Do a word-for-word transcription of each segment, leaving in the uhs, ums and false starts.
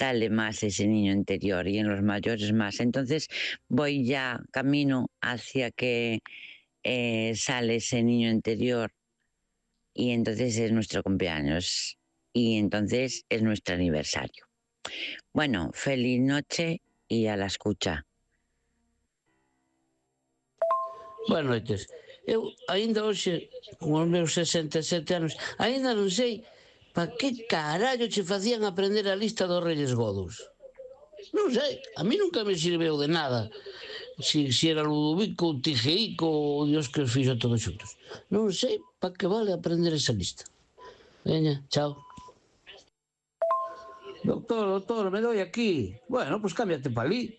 sale más ese niño interior y en los mayores más. Entonces voy ya camino hacia que eh, sale ese niño interior y entonces es nuestro cumpleaños y entonces es nuestro aniversario. Bueno, feliz noche y a la escucha. Boas noites. Eu, aínda hoxe, con os meus sesenta e sete anos, aínda non sei para que carallo che facían aprender a lista dos Reyes Godos. Non sei, a mí nunca me sirveu de nada. Si, si era Ludovico, Tigeico ou Dios que os fixo todos xuntos. Non sei para que vale aprender esa lista. Veña, chao. Doctor, doctor, me doi aquí. Bueno, pois pues cámbiate pa ali.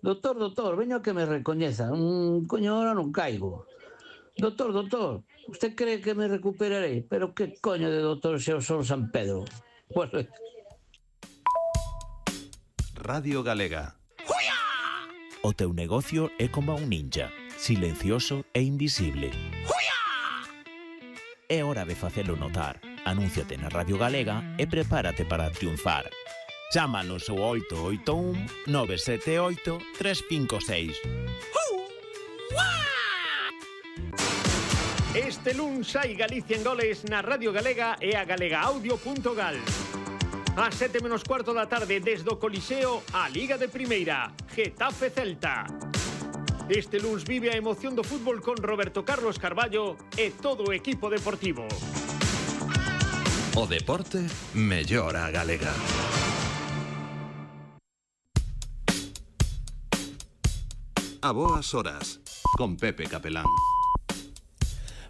Doctor, doctor, veño a que me recoñeza. Un coño, ahora non caigo. Doctor, doctor, usted cree que me recuperaré? Pero que coño de doctor se o son San Pedro? Pues... Radio Galega. O teu negocio é como un ninja, silencioso e invisible. É hora de facelo notar. Anúnciate na Radio Galega e prepárate para triunfar. Chámanos ao oito oito un nove sete oito tres cinco seis. Este luns hai Galicia en goles na Radio Galega e a galegaaudio punto gal. A sete menos cuarto da tarde desde o Coliseo a Liga de Primeira, Getafe Celta. Este luns vive a emoción do fútbol con Roberto Carlos Carballo e todo o equipo deportivo. O deporte mellora a galega. A boas horas, con Pepe Capelán.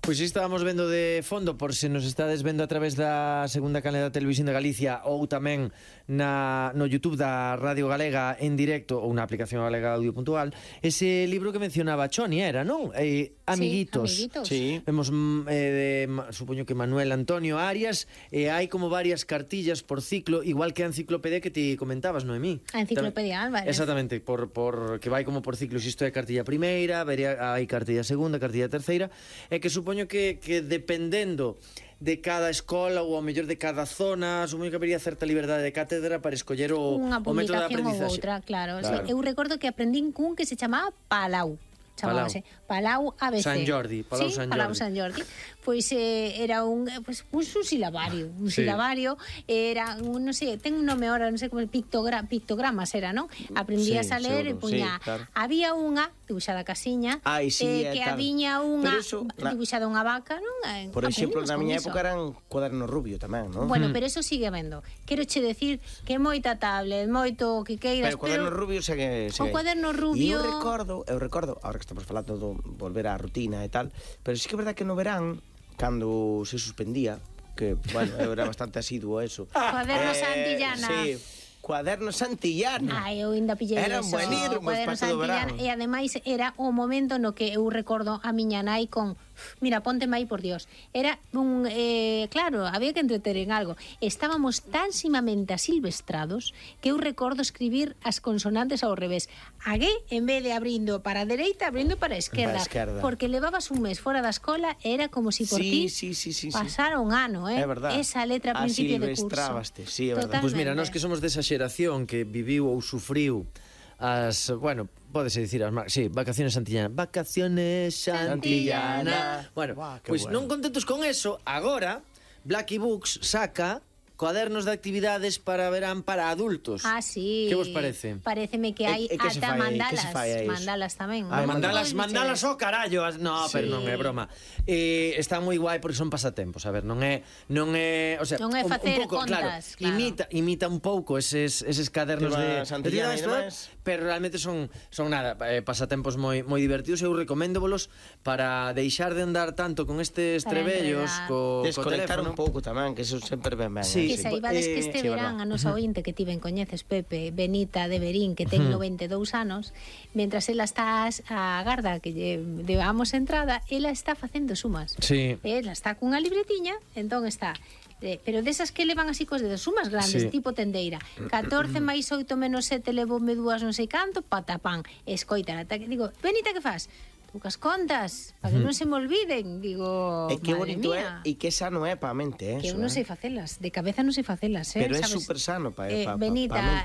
Pois estábamos vendo de fondo, por se nos estades vendo a través da segunda canle da Televisión de Galicia ou tamén na, no YouTube da Radio Galega en directo ou na aplicación galega audio punto gal, ese libro que mencionaba Choni era, non? Eh, Amiguitos. Sí, Amiguitos. Sí. Vemos, eh, de, supoño que Manuel Antonio Arias, e eh, hai como varias cartillas por ciclo, igual que a enciclopedia que ti comentabas, Noemí. A enciclopedia Álvarez. Exactamente, por, por que vai como por ciclos, isto é cartilla primeira, vería, hai cartilla segunda, cartilla terceira, e que supoño que, que dependendo de cada escola ou ao mellor de cada zona, supoño que habería certa liberdade de cátedra para escoller o, o método de aprendizaxe. Unha publicación ou outra, claro. Claro. Sí, eu recordo que aprendín cun que se chamaba Palau. Chamábase Palau A B C. San Jordi, Palau sí, San Jordi. Palau San Jordi. Pois eh, era un, pues, pues, un silabario, un sí. silabario, era un, non sei, ten un nome ahora, non sei como, pictogra, pictogramas era, non? Aprendías sí, a ler seguro, e puña, sí, claro. Había unha dibuixada casiña, Ai, sí, eh, que tal. habiña unha eso, dibuixada unha vaca, non? Eh, por exemplo, na miña iso. época eran cuadernos rubio tamén, non? Bueno, pero eso sigue vendo. Quero che decir que moita tablet, moito que queiras, pero cuaderno pero rubio segue, segue. O cuaderno E rubio. eu recordo, eu recordo, agora que estamos falando do volver á rutina e tal, pero sí que é verdad que no verán, cando se suspendía, que, bueno, eu era bastante asiduo a eso. Cuaderno eh, Santillana. Sí, cuaderno Santillana. Ai, eu ainda pillei Eran eso. buenísimos Cuaderno para todo o Santillana. verán. E ademais era o momento no que eu recordo a miña nai con mira, pónteme aí por Dios. Era un, eh, claro, había que entreter en algo. Estábamos tan simamente asilvestrados que eu recordo escribir as consonantes ao revés. Agué, en vez de abrindo para a dereita, abrindo para a esquerda. Para a esquerda. Porque levabas un mes fora da escola e era como si por Sí, ti sí, sí, sí, sí. pasara un ano, eh? É verdad. Esa letra a principio de curso. Asilvestrabaste, sí, é verdad. Pois pues mira, nós que somos desa xeración que viviu ou sufriu as, bueno, pódese dicir as, sí, vacaciones Santillana, vacaciones Santillana. Bueno, Buah, pois pues bueno. non contentos con eso, agora Blacky Books saca cuadernos de actividades para verán para adultos. Ah, sí. Que vos parece? Pareceme que hai E- e que se ata fai- mandalas, que se fai a iso? mandalas tamén. Ah, Non mandalas, todos mandalas bicheros. o carallo. as- No, Sí. pero non é broma. Eh, está moi guai porque son pasatempos, a ver, non é non é, o sea, Non é un, facer un pouco, claro, contas, claro. imita imita un pouco eses eses cadernos Tema de Santillana de e todo, demais. pero realmente son son nada, eh, pasatempos moi moi divertidos. Eu recoméndovolos para deixar de andar tanto con estes Para trebellos enredar. co, co Desconectar teléfono. un pouco tamén, que eso sempre ben ben. Sí, Que eh, saibades que este sí, verán a verdad. nosa ointe que ti ben coñeces, Pepe, Benita de Berín, que ten noventa e dous anos, mentras ela está a garda que lle debamos entrada, ela está facendo sumas. Sí. Ela está cunha libretiña, entón está eh, pero desas que levan así cos dedos, sumas grandes, Sí. tipo tendeira. catorce máis oito menos sete levoume dúas non sei canto, patapán. Escoita, digo, Benita, que fas? Poucas contas, para que non se me olviden. Digo, E que madre bonito mía. é, e que sano é para a mente, eh, Que eu eso, non eh. sei facelas, de cabeza non sei facelas, eh, Pero é sabes? super sano para Eh, pa, pa, Benita, pa a mente.